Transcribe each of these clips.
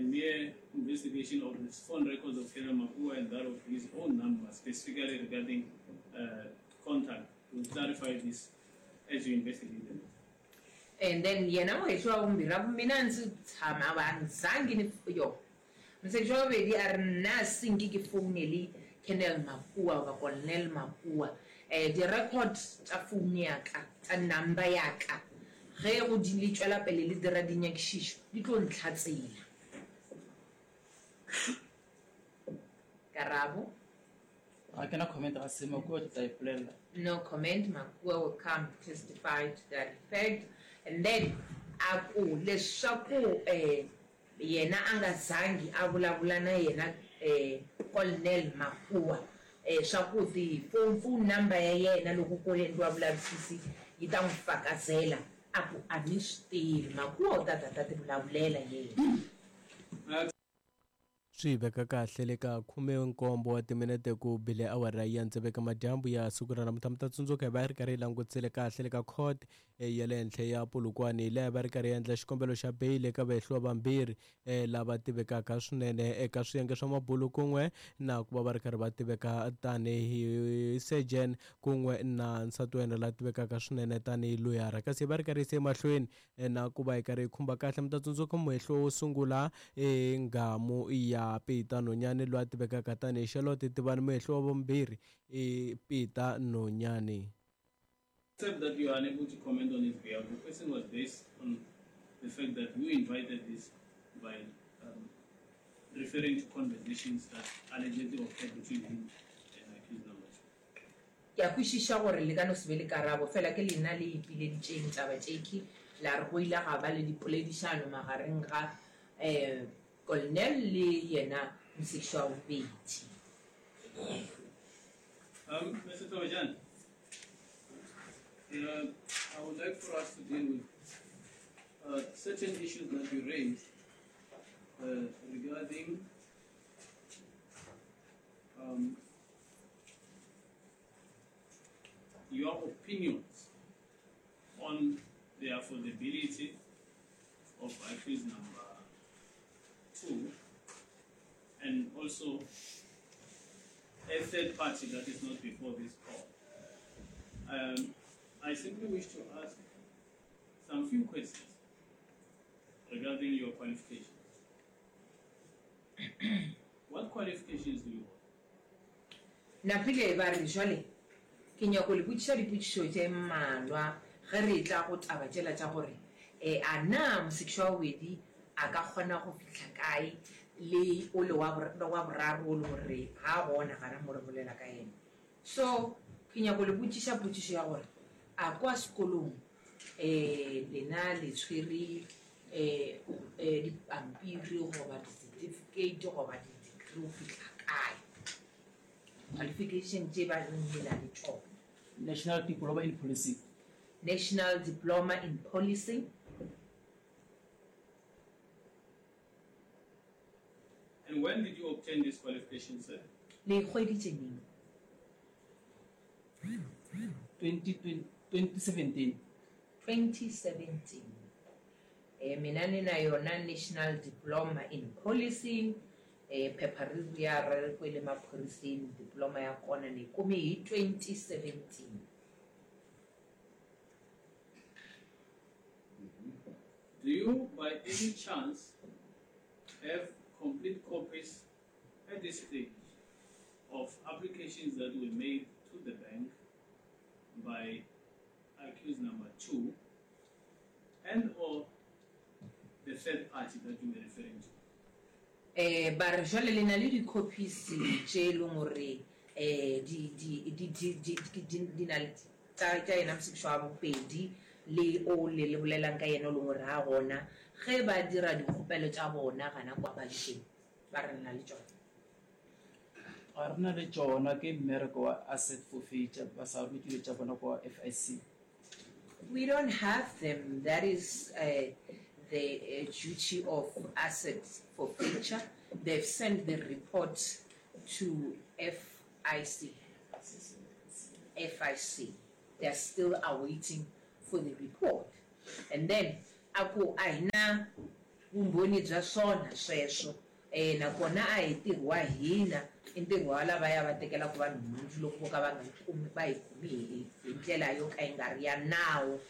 mere investigation of the phone records of Colonel Makua and that of his own number, specifically regarding contact, will clarify this as you investigate them. And then yena muhehli wa vumbirhi a ku, Mina a ndzi tshama a ni zangi ni yo. Mosekisi wa bobedi a re, Nna a se nke ke founele Colonel Makua goba Colonel Makua. Di-record tša foune ya ka, tša number ya ka, ge go di le tšwela pele le dira dinyakišišo, di tlo ntlhatsela. Karabo. Ga ke na comment ga se, Makua o tla ipolelela. No comment, Makua will come to testify to that effect. And then a ku leswaku yena a nga zangi a vulavula na yena Colonel Makua swa ku ti phone, phone number ya yena loko ko endliwa vulavisisi yi ta n'wi fakazela, a ku a ni swi tivi. Makua u ta ta ta ti vulavulela yena. Swi veka kahle le ka khume-nkombo wa timinete ku bile awara ya ntseveka madyambu ya siku ra namuntlha. Mi ta tsundzuka hi va hi ri karhi hi langutisile kahle le ka court ya le henhla ya Polokwane laha va ri karhi hi endla xikombelo xa beyili eka vahehliwa vambirhi lava tivekaka swinene eka swiyenge swa mabulu kun'we na ku va va ri karhi va tiveka tanihi surgeon kun'we na nsati wa yena la tivekaka swinene tanihi loyara. Kasi hi va ri karhi yise emahlweni Na ku va hi karhi hi khumba kahle, mi ta tsundzuka muhehliwa wo sungula i nghamu ya Peter Nonyane loyi a tivekaka tanihi Charlotte Tivani. Muhehliwa wa vumbirhi i Peter Nonyane. Except that you are unable to comment on his behalf, the question was based on the fact that you invited this by um, referring to conversations that allegedly occurred between him and accused number two. Ke a kwešiša gore le ka no se be le karabo, fela ke lena le ipileditšeng taba tšekhwi, la re go ile ga ba le dipoledišano magareng ga Colonel le yena mosekišwa wa bobedi. Mister Thobejane, I would like for us to deal with certain issues that you raised regarding your opinions on the affordability of accused number 2 and also a third party that is not before this court. I simply wish to ask some few questions regarding your qualifications. What qualifications do you hold? Napile ba re, Jwale ke nyako le botšiša dipotšišo tše mmalwa ge re etla go taba tšela tša gore a na mosekišwa wa bobedi a ka kgona go fihla kae le o le wa wa boraro o le gore ga a gona gana mo re bolela ka yena. So ke nyako le botšiša potšišo ya gore a kwa sekolong lena le tshwere dipampiri goba di-certificate goba di-degree go fihla kae? Qualification tše ba reng le na le tšona. National Diploma in Policing. National Diploma in Policing. And when did you obtain this qualification, sir? Le e hweditše neng? 2017. 2017. Mina ni na yona National Diploma in Policing, phepha ri vuya ra ri kwele maphoriseni, diploma ya kona ni yi kume hi 2017. Do you by any chance have complete copies at this stage of applications that were made to the bank by accused number 2 and or the third party that you were referring to? Ba re, Jwale le na le di-copies tše e leng gore di, di, di, di, di, di, di na le tša, tša yena mosekišwa wa bobedi le o le le bolelang ka yena o leng gore ga a gona ge ba dira dikgopelo tša bona gana kwa bankeng. Ba re le na le tšona. Ga re na le tšona, ke mmereko wa asset forfeiture, ba sa rute dilo tša bona kwa FIC. We don't have them, that is the duty of asset forfeiture, they've sent the report to FIC, FIC, they are still awaiting for the report. And then a ku a hi na Vumbhoni bya swona sweswo. Nakona a hi ntirho wa hina, i ntirho wa lavaya va tekelaka vanhu nhundzu loko vo ka va nga yi kumi, va yi kumi hi hi ndlela yo ka yi nga ri ya nawu.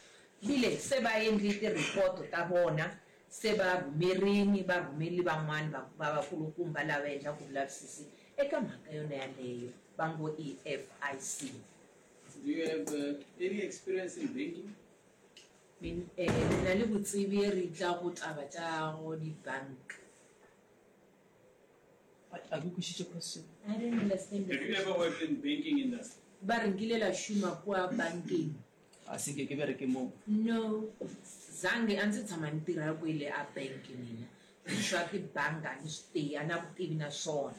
Bile se va endli tirhipoto ta vona, se va rhumerini, va rhumeli van'wana va va vakulukumba lava endlaka vulavisisi eka mhaka yona yaleyo va ngo i FIC. Do you have any experience in banking? Min, le na le botsebi re tla go taba tša go di-bank. A ke kwešiše question. I don't understand the Have you question. ever worked in banking industry? Ba re nkile la šoma kua bankeng. A se nke ke bereke moo. No, zange a ndzi tshama ni tirha kwele a bank mina. Swa tibanga a ni swi tivi, a na vutivi na swona.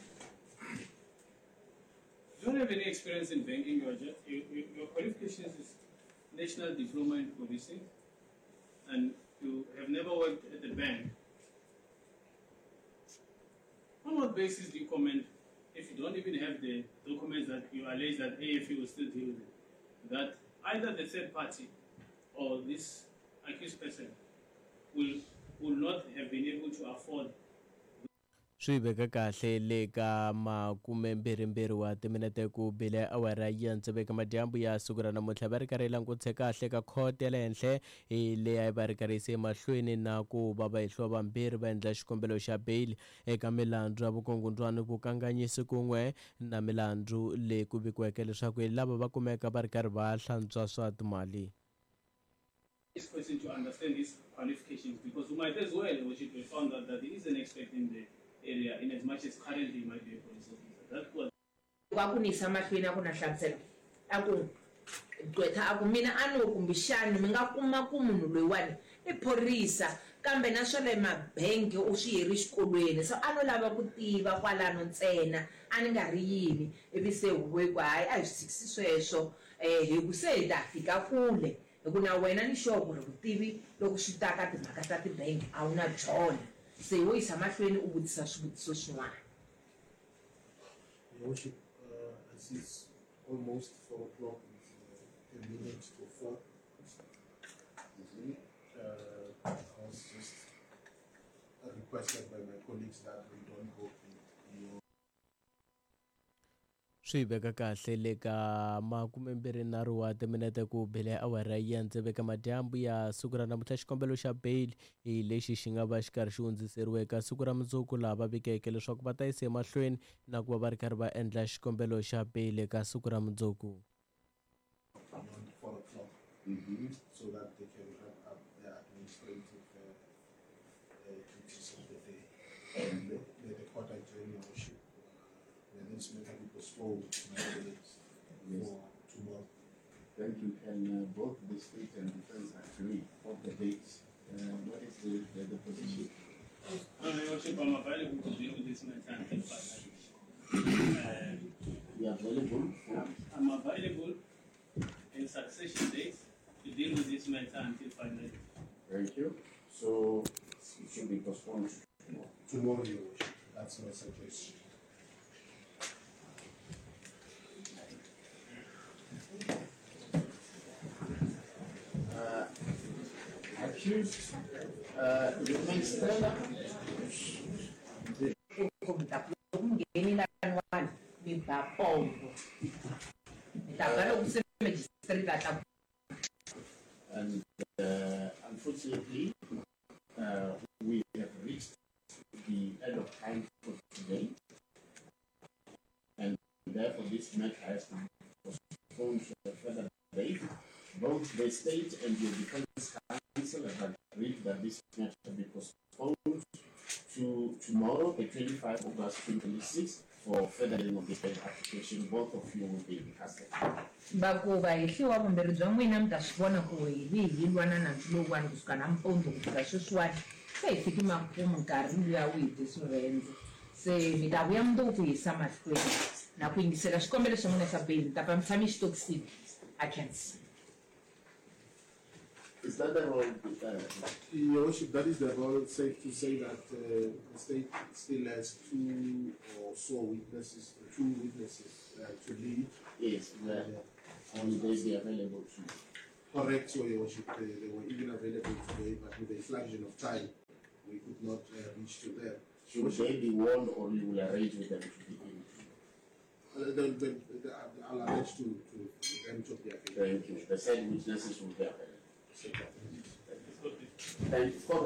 You don't have any experience in banking, you are just, you, you, your qualifications is National Diploma in Policing, and you have never worked at the bank. On what basis do you comment, if you don't even have the documents that you allege that AFU will still deal with it, that either the third party or this accused person will not have been able to afford Swi veka kahle le ka makumembirhimbirhi wa timinete ku bile awara ya tsevu eka madyambu ya siku ra namuntlha. Va ri karhi yi langutise kahle ka khoto ya le henhla hi leyi a yi va ri karhi yise emahlweni na ku va vahehliwa vambirhi va endla xikombelo xa beyili eka milandzu ya vukungundzwani, vukanganyisi kun'we na milandzu leyi ku vikiweke leswaku hi lava va kumeka va ri karhi va hlantswa swa timali. This person to understand his qualifications, because we might as well, which it we found out that he is an expert in the area, in as much as currently he might be a police officer. That was Loko a ku ni yisa mahlweni a ku na nhlamuselo, a ku, Gqwetha a ku, Mina a no kumbexani mi nga kuma ku munhu loyiwani i phorisa, kambe na swa le mabangi u swi yeri xikolweni, so a no lava ku tiva kwalano ntsena, a ni nga ri yini. Ivi se huvo yi ku, Hayi, a hi swi tshikisi sweswo, hi ku se hi ta fika kule, hi ku na wena ni sure ku ri vutivi loko swi ta ka timhaka ta tibangi a wu na byona. Se wo yisa mahlweni u vutisa swivutiso swin'wana. Your Worship, I see it's almost 4 o'clock, it's 10 minutes to 4. I was just requested by my colleagues that we don't go beyond. Swi veka kahle le ka makumembirhinharhu wa timinete ku bile awara ya tsevu eka madyambu ya siku ra namuntlha. Xikombelo xa bail hi lexi xi nga va xi karhi xi hundziseriwe eka siku ra mundzuku, laha va vikeke leswaku va ta yisa emahlweni na ku va va ri karhi va endla xikombelo xa bail eka siku ra mundzuku. Beyond 4 o'clock, so that they can wrap up their administrative duties of the day. And may the court adjourn, Your Worship. May this matter be postponed, my colleagues, for tomorrow. Thank you. Can both the state and defense agree on the dates? What is the position? No, Your Worship, I'm available to deal with this matter until 5. You are available? I'm available in succession dates to deal with this matter until final. Thank you. So it should be postponed tomorrow. Tomorrow, Your Worship. That's my suggestion. Accused, you may stand up. Mi ta loko mi ngheni laniwani mi ba pombo, mi ta ba loko se magistrate a tla. And unfortunately, we have reached the end of time for today, and therefore this matter has to be postponed to a further date. Both the state and the defense counsel have agreed that this matter be postponed to tomorrow, the 25th of August 2026, for further hearing of this bail application. Both of you will be in custody. Va ku vahehliwa vumbirhi bya n'wina mi ta swi vona ku hi vi hi lwa na nandzu lowuwani kusuka nampundzu ku fika sweswiwani, se hi fiki makumu nkarhi luya wu hi dye swirhendze. Se mi ta vuya mundzuku ku yisa mahlweni na ku yingisela xikombelo xa n'wina xa bail, mi ta pfa mi tshame xitokisini. A khensa. Is that the role? Your Worship, that is the role. It's safe to say that the state still has two or so witnesses, two witnesses to lead. Yes, will they be available to you? Correct, so Your Worship, they were even available today, but with the inflation of time, we could not reached to them. Should they be warned or you will arrange with them to be in? I'll arrange to them to be available. Thank you. The said witnesses will be available. Thank you. For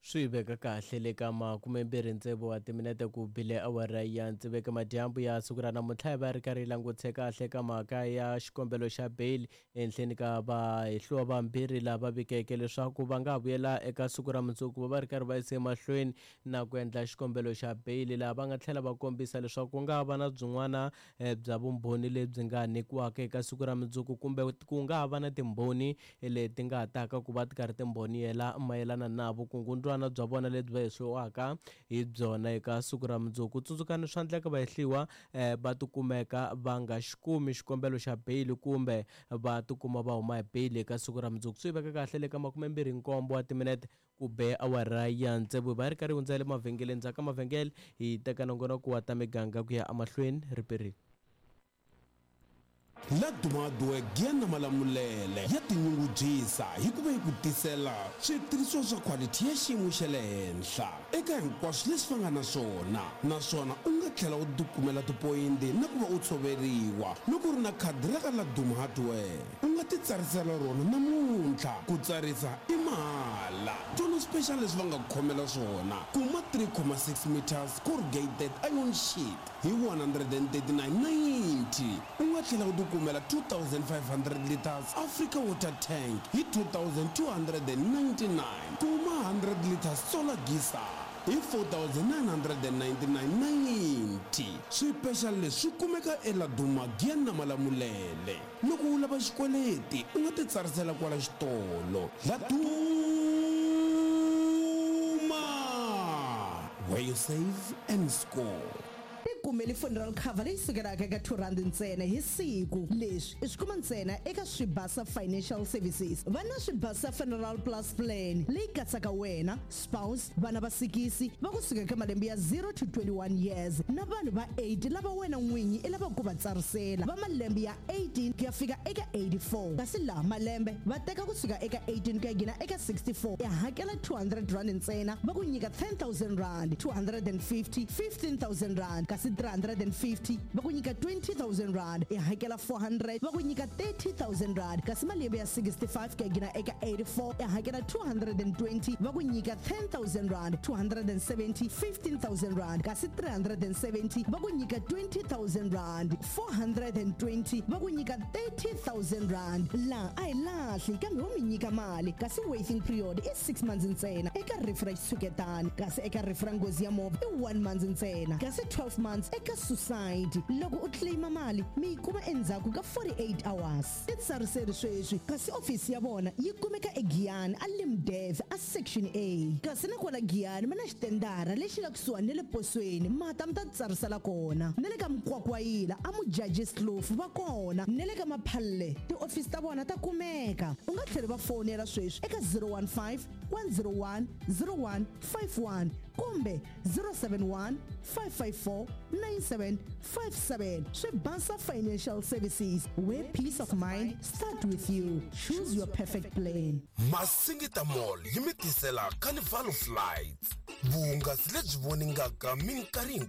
Swi veka kahle le ka 26 wa timinete ku bile awara ya tsevu madyambu ya siku ra namuntlha hi va ri karhi yi langutise kahle ka mhaka ya xikombelo xa bail ehenhleni ka vahehliwa vambirhi lava vikeke leswaku va nga vuyela eka siku ra mundzuku va va ri karhi va yise emahlweni na ku endla xikombelo xa bail laha va nga tlhela va kombisa leswaku ku nga va na byin'wana bya vumbhoni lebyi nga nyikiwaka eka siku ra mundzuku kumbe ku nga va na timbhoni leti nga taka ku va ti karhi timbhoniyela mayelana na vukungundwana bya vona lebyi va hehliwaka hi byona eka siku ra mundzuku. Tsundzukani swa endleka vahehliwa va tikumeka va nga xi kumi xikombelo xa bail kumbe va tikuma va huma hi bail eka siku ra mundzuku. Swi veka kahle le ka 27 wa timinete ku be awara ya tsevu va ri karhi hundza le mavhengeleni ndzhaku ka mavhengele hi teka nongonoko wa ta miganga ku ya emahlweni riperile. Laduma Giana Malamulele ya tinyungubyisa hi ku va yi ku tisela switirhisiwa swa quality ya xiyimo xa le henhla eka hinkwaswo leswi va nga na swona, naswona u nga tlhela u tikumela tipoyinti na ku va u tshoveriwa loko u ri na khadi ra ka Laduma Hardware. U nga ti tsarisela rona namuntlha, ku tsarisa i mahala. Tona special leswi va nga ku khomela swona, kuma 3.6 meters corrugated iron sheet hi 139.90. U nga tlhela u tikumela 2500 liters Africa water tank hi 2299. Kuma 100 liters solar geyser hi 4999.90. Swipexal leswi swi kumeka eLaduma Giana Malamulele. Loko u lava xikweleti u nga ti tsarisela kwala xitolo. Laduma, where you save and score. Tikumeli funeral cover leyi sukelaka eka R2 ntsena hi siku. Leswi i swi kuma ntsena eka Swibasa Financial Services. Va na Swibasa Funeral Plus Plan leyi katsaka wena, spouse, vana va sikisi va kusuka eka malembe ya 0 to 21 years na vanhu va 8 lava wena n'winyi i lavaka ku va tsarisela va malembe ya 18 ku ya fika eka 84. Kasi laha malembe va teka kusuka eka 18 ku ya gina eka 64. I hakela R200 ntsena, va ku nyika R10,000, 250, R15,000, kasi 350 va ku nyika R20,000. I hakela 400 va ku nyika R30,000. Kasi malembe ya 65 ku ya gina eka 84 i hakela 220 va ku nyika R10,000, 270, R15,000, kasi 370 va ku nyika R20,000, 420 va ku nyika R30,000. Laha a hi lahli kambe wo mi nyika mali, kasi waiting period i 6 months ntsena eka rifu ra xitshuketani, kasi eka rifu ra nghozi ya movha i 1 month ntsena, kasi 12 months eka suicide. Loko u claima mali mi yi kuma endzhaku ka 48 hours. Titsariseri sweswi, kasi ofisi ya vona yi kumeka eGiyani a Limdev a section A. Kasi na kwala Giyani mi na xitendara lexi nga kusuhani na le posweni, mata mi ta tsarisela kona. Na le ka Mkwakwayila a Mujajis Kloof va kona, na le ka Maphalle tiofisi ta vona ta kumeka. U nga tlheli va fonela sweswi eka 015 101 0151 kumbe 071 554 9757. Swibasa Financial Services, where peace of mind start with you. Choose your perfect plan. Masingita Mall yi mi tisela Carnival of Lights, vuhungasi lebyi voningaka minkarhi.